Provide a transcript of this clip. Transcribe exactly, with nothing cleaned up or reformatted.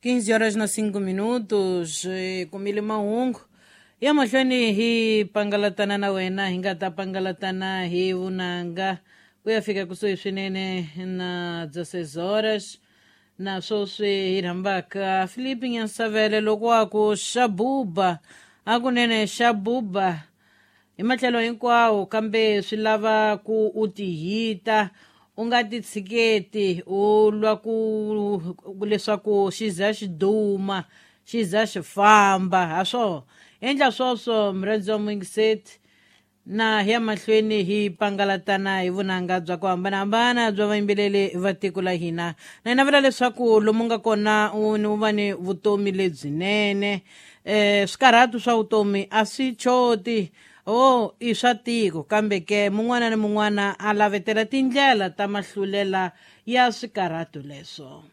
quinze horas na cinco minutos, eh, kumile mahungu ya mahlweni hi pangalatana na wena, hi nga ta pangalatana hi vunanga ku ya fika kusuhi swinene na dezesseis horas. Na sweswi hi rhambaka Filipe Nyansavele loko wa ku xabuba, hakunene xabuba hi matlhelo hinkwawo, kambe swi lava ku u tihita, u nga ti tshiketi, u lwa ku leswaku xi za xi duma, xi za xi famba. Ha swo endla swoswo, murhandzi wa muyingiseti, na hi ya mahlweni hi pangalatana hi vunanga bya ku hambanahambana bya vayimbeleri va tiko la hina. Na hi navela leswaku lomu nga kona u ni u va ni vutomi lebyinene. um swikarhatu swa vutomi a swi choti, o i swa tiko, kambe ke mun'wana ni mun'wana a lavetela tindlela ta mahlulela ya swikarhatu leswo.